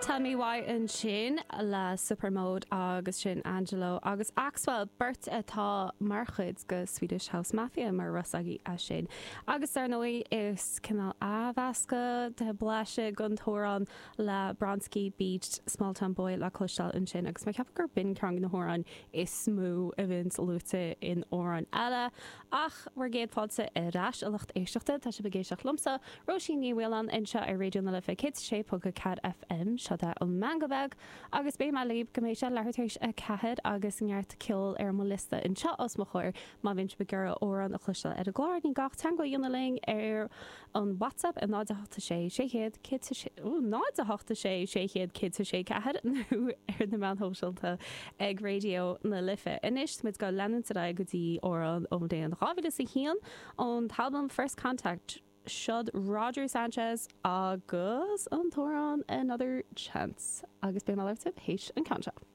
Tell Me Why ansin le Supermode agus sin Angelo agus Axwell, beirt atá mar chuid de Swedish House Mafia mar raibh 'fhios agaibh é sin. Agus dar ndóigh is cineál athmheascadh de blaiseadh den t-amhrán le Bronski Beat Smalltown Boy le cloisteáil ansin agus mé ag ceapadh gur b'in ceann de na hamhráin is mó a bhíonns luaite in amhráin eile. Ach bhur gcéad fáilte ar ais, a lucht éisteachta. Tá sibh ag éisteacht liomsa, Róisín Ní Mhaoláin, anseo ar Raidió na Life 106.4 FM. Seo é an Meangadh Beag agus beidh mé libh go mbeidh sé leathuair tar éis 4 agus neart ceoil ar mo liosta anseo os mo chomhair. Má bhíonn sibh ag iarraidh amhrán a chloisteáil ar an gclár, ní gá ach teagmháil a dhéanamh linn ar an WhatsApp ar 0 8 6 600 106, 0 8 6 600 106 4 nó ar na meáin shóisialta ag Raidió na Life. Anois, tá muid ag leanúint ar aghaidh go dtí amhrán ón bhliain 2001 ón t-albam First Contact. Siod Roger Sanchez agus an t-amhrán Another Chance agus beidh mé libh théis an ceann seo.